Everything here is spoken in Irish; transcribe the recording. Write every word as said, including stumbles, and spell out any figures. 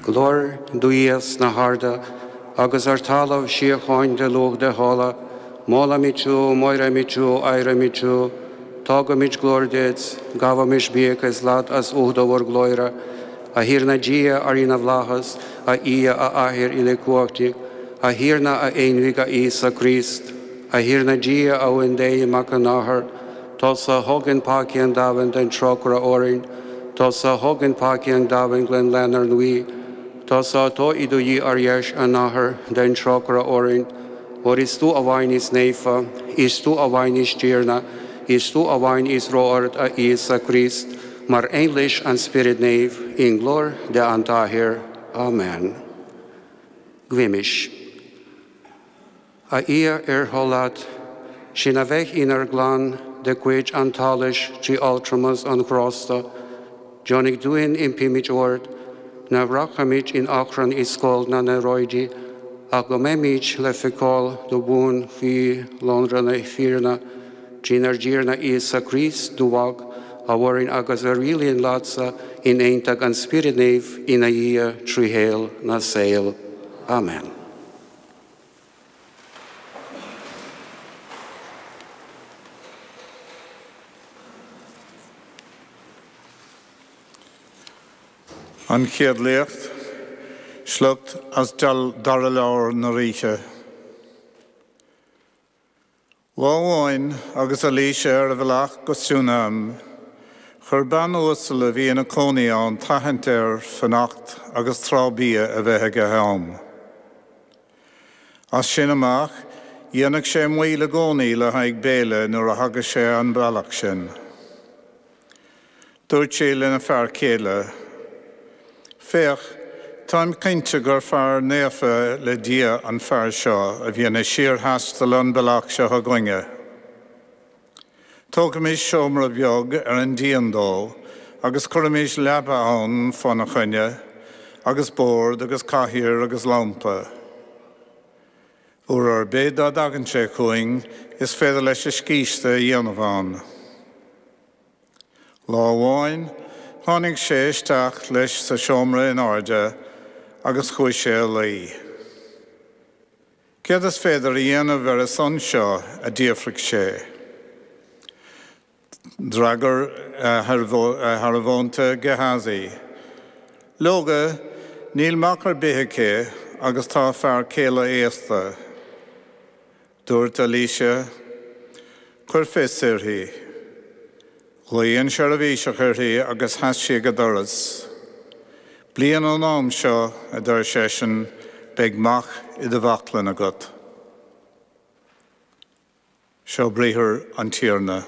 Glóir do Dhia sna harda, agus ar talamh síocháin do lucht a thola, Molaimid thú, móraimid thú, adhraimid thú, Tugaimid glóir duit, gabhaimis buíochas leat as ucht bhur glóire, a Thiarna Dia, a Rí na bhFlaitheas, a Dhia, a Athair uilechumhachtaigh, a Thiarna a Aonmhic a Íosa Críost, a Thiarna Dia a Uan Dé Mac an Athar, Tusa a thógann peacaí an domhain déan trócaire orainn, Tusa a thógann peacaí an domhain glan lenár nguí, Tusa atá i do shuí ar dheis an Athar déan trócaire orainn, Óir is tú amháin is naofa, is tú amháin is Tiarna, is tú amháin is ró-ard a Íosa Críost, mar aon leis an Spiorad Naomh, i nglóir Dé an tAthair. Amen. Guímis. A Dhia ar thoil leat, sinn a bheith inár gclann de chuid an tsolais trí altramas an ghrásta, Deonaigh dúinn impímid ort, nach rachaimid in achrann i scoilt na n-earráidí, ach go mbeimid le feiceáil go buan faoi lonradh na fírinne, trínár dTiarna Íosa Críost do Mhac, a mhaireann agus a rialaíonn leatsa in aontacht an Spioraid Naoimh ina Dhia trí shaol na saol. Amen. An Chéad Léacht, sliocht as Dara Leabhar na Ríthe. Lá amháin agus Eilíse ar a bhealach go Siúinéim, chuir bean uasal a bhí ina cónaí ann tathant air fanacht agus tráth bia a bheith aige ann. As sin amach, dhéanadh sé moill i gcónaí le haghaidh béile nuair a thagadh sé an bealach sin. Dúirt sí lena fear céile, Féach, táim cinnte gur fear naofa le Dia an fear seo a bhíonn ag síorthaisteal an bealach seo againne. Tógaimis seomra beag ar an díon dó agus cuirimis leaba ann fána choinne, agus bord agus cathaoir agus lampa. Uair ar bith dá dtagann sé chugainn is féidir leis a scíste a dhéanamh ann. Lá amháin, tháinig sé isteach leis sa seomra in airde agus chuaigh sé a luí. Céard is féidir a dhéanamh ar a son seo? a d'fhiafraigh sé. D'fhreagair a shearbhónta Gehazaí, Leoga, níl mac ar bith aici agus tá a fear céile aosta. Dúirt Eilíse, Cuir fios uirthi. Ghlaoigh an seirbhíseach uirthi agus sheas sí ag an doras. Bliain ón am seo, a deir seisean, beidh mac i do bhaclainn agat. Seo briathar an Tiarna.